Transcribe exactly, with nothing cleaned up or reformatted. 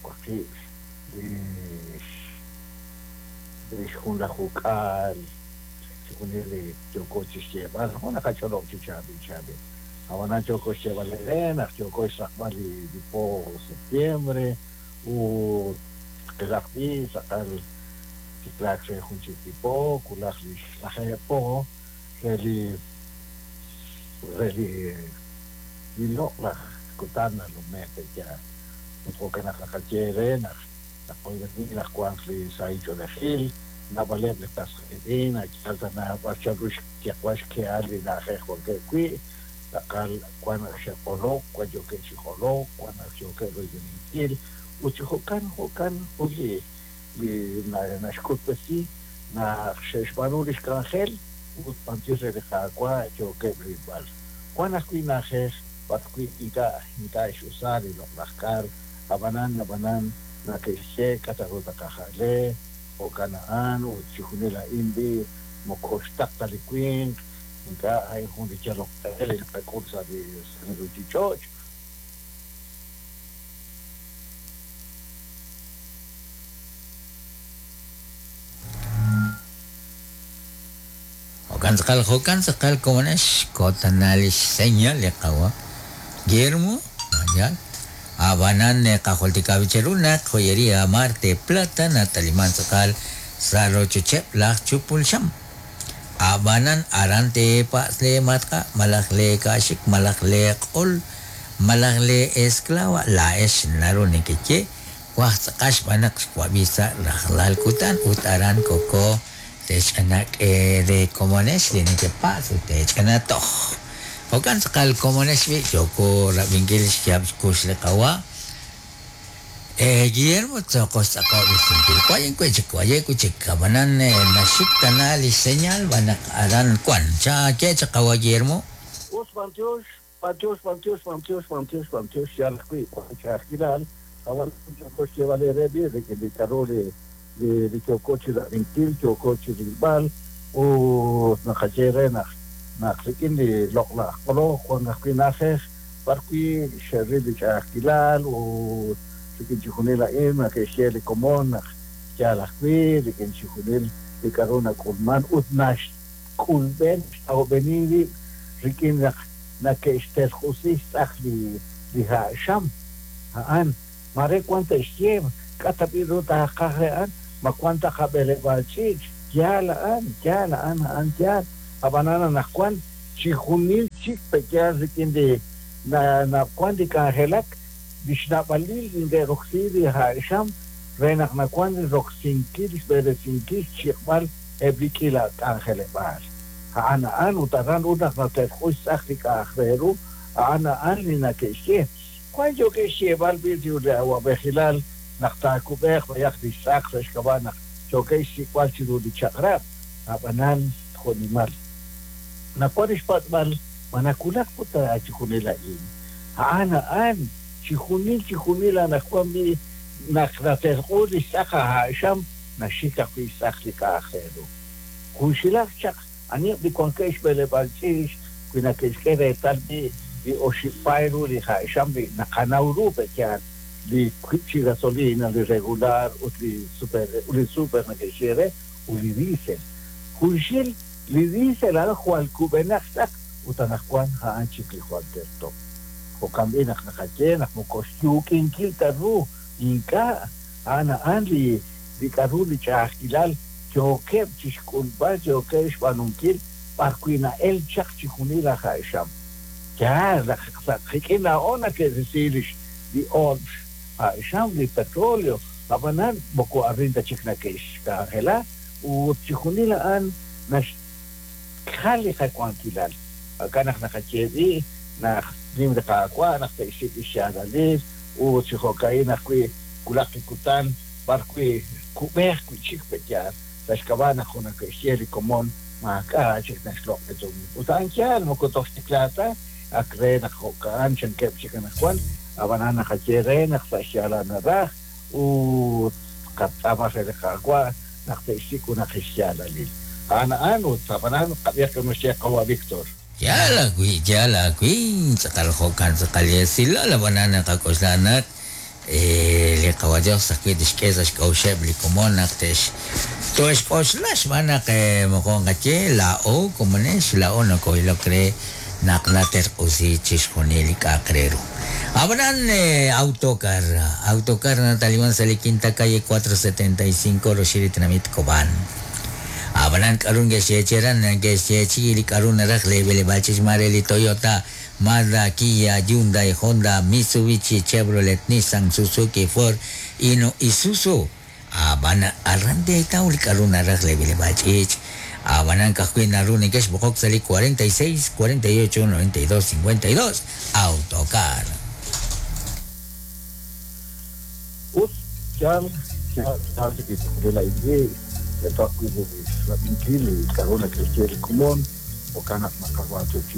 waqib' li li xjunlajuk'aal chixjunil li yooko chi xyeeb'al jo' naqach'olob' chi chaab'il chaab'il ab'anan yooko xyeeb'al eere naq yooko xraqb'al li li po septiembre ut qilaq b'i tz'aqal tiklaak re jun chik li po wulaj li xlajeeb' po re li re li li loq'laj kutan nalume' pe'yaal ut jo'kan naq naqaye eere naq naqoyb'eni naq wanq li sahil ch'oolejil naab'aleb' li qas qiitz'in a'yaal tana b'ar chanru xyeq'b'al xkehal li na'ajej wankeb' wi' tz'aqal wan naq xe'q'olok wan yookeb' chi q'olok wan naq yookeb' royb'eninkil ut chi jo'kan jo'kan jun li li naxk'utb'esi naq xe'xb'aanu li xk'anjel ut b'antiox re li Qaawa' yookeb' rilb'al wan ajwi' na'ajej b'arwi' ink'a' ink'a' x'usa li loq'laj kar ab'anan ab'anan nake'xye k'a' ru taqajale jo'kan a'an ut chixjunil a'in b'i moko xtaq ta li winq ink'a' a'in jun li yalok q'e li naqak'ul sa' li sa' li ruuchich'och' Jo'kan tz'aqal jo'kan tz'aqal komonex kotana li xseñal li qawa Guillermo yal ab'anan qajultika bicheru naq joyería Marte Plata nataliman tz'aqal sa' rochocheb' laj chupul xam ab'anan aran teepatz' le matqa malaj le ka'xik malaj le q'ol malaj le esclava laa'ex naru nekeye waj tz'aqal xb'aan naq xwab'i sa' rajlal kutan ut aran koko tech'anak de komonex li nekepatz' ut tech'ana toj jo'kan tz'aqal komonex b'i yooko rab'inkil xyaab' xkux li qawa eh Guillermo tzoqos tz'aqob'isinkil wayen wi' chik waye wi' chik ab'anan naxik tana li señal b'anaq aran wan cha ke chaq qawa Guillermo us b'antiox b'antiox b'antiox b'antiox b'antiox b'antiox yaal ajwi' wan ch'a'ajkilal ab'an yooko xyeeb'al eere b'i rik'in li k'a'ru li li li yooko chi rab'inkil yooko chi rilb'al ut naqaye re naq naq rik'in li loq'laj q'oloj wan ajwi' na'ajej b'arwi' xe'ril li ch'a'ajkilal ut rik'in chixjunil a'in nake'xye li komon naq yaal ajwi' rik'in chixjunil li k'a'ru nak'ulman ut naxk'ulb'en xtawb'eni rib' rik'in naq nake'xterq'usi xtz'aq li li ha' xam a'an mare wan te'xye k'a' tab'i ru taaqaj re a'an ma wan ta qab'eleb'aal ch'iich' yaal a'an yaal a'an a'an yaal ab'anan anaqwan chixjunil chik pe'yaal rik'in li na nawan li k'anjelak li xnab'alil neke'roksi li ha' xam re naq nawan roksinkil xb'eresinkil xchiq'b'al eb' li k'iila k'anjeleb'aal a'an a'an ut aran ut naq naterq'u xtz'aq li k'a'aj re ru a'an a'an li nake'xye wan yookeb' xyeeb'al b'i li awab'ejilal naq taakub'eeq b'ayaq li xtz'aq sa' xk'ab'a' naq yookeb' xsik'b'al chiru li chaq'rab' ab'anan jo'nimal nawan xpatz'b'al ma nawulak ut chixjunil a'in a'an a'an chixjunil chixjunil anaqwan b'i naq naterq'u li xtz'aq ha' xam naxik ajwi' xtz'aq li k'a'aj re ru junxilaj chaq aniheb' li wankeb' xb'eleb'aal ch'iich' wi nake'xk'e reetal b'i li oxib' paay ru li ha' xam li naqanaw ru pe'yaal li wiib' chi gasolina li regular ut li super li super nake'xye re ut li diesel junxil li diesel a'an jwal kub'enaq xtz'aq ut anaqwan a'an chik li jwal terto jo'kan b'i naq naqaye naq moko xyuuk'inkil ta ru ink'a' a'an a'an li li k'a'ru li ch'a'ajkilal yookeb' chi xk'ulb'al yookeb' xb'aanunkil b'arwi' na'el chaq chixjunil laj ha' xam yaal naq sa' qik'in laa'o nake'risi li li oor ha' xam li petróleo ab'anan moko arin ta chik nake'xk'anjela ut chixjunil a'an naxjal li qawankilal jo'kan naq naqaye b'i naq nim li Qaawa' naq te'xsik' li xyaalalil ut chi jo'ka'in ajwi' wulaq li kutan b'arwi' kub'eeq wi' chik pe'yaal sa' xk'ab'a' naq jun nake'xye li komon maak'a' chik naxloq' li tumin ut a'an yaal moko toj xtiklaak ta ak re naq jo'ka'an chankeb' chik anaqwan ab'anan naqaye re naq sa' xyaalal naraj ut qatz'aama re li Qaawa' naq te'xsik' junaq xyaalalil a'an a'an ut ab'anan qab'ihaq naxye qawa' Víctor Yaal ajwi' yaal ajwi' tz'aqal jo'kan tz'aqal esilal ab'anan naqak'oxla naq Li qawa Dios ajwi' tixk'e sa' xk'a'uxeb' li komon naq te'x to'xk'oxla xb'aan naq moqon qaye laa'o komonex laa'o noko'ilok re naq naterq'usi chixjunil li k'a'aq re ru. Ab'anan Autocar, Autocar nataliman sa' li quinta calle cuatro setenta y cinco roxil li tenamit Cobán. Ab'anan k'aru nke'xyeechiran nke'xyeechi li k'aru naraj le b'eleb'aal ch'ich' li Toyota, Mazda, Kia, Hyundai, Honda, Mitsubishi, Chevrolet, Nissan, Suzuki, Ford, Hino, Isuzu. Ab'an aran teetaw li k'aru naraj le b'eleb'aal ch'ich'. Ab'anan ka'ajwi' naru neke'xb'oqok sa' li cuarenta y seis, cuarenta y ocho, noventa y dos, cincuenta y dos. Autocar. Us, yal, yal, yal, de la idea, de todas las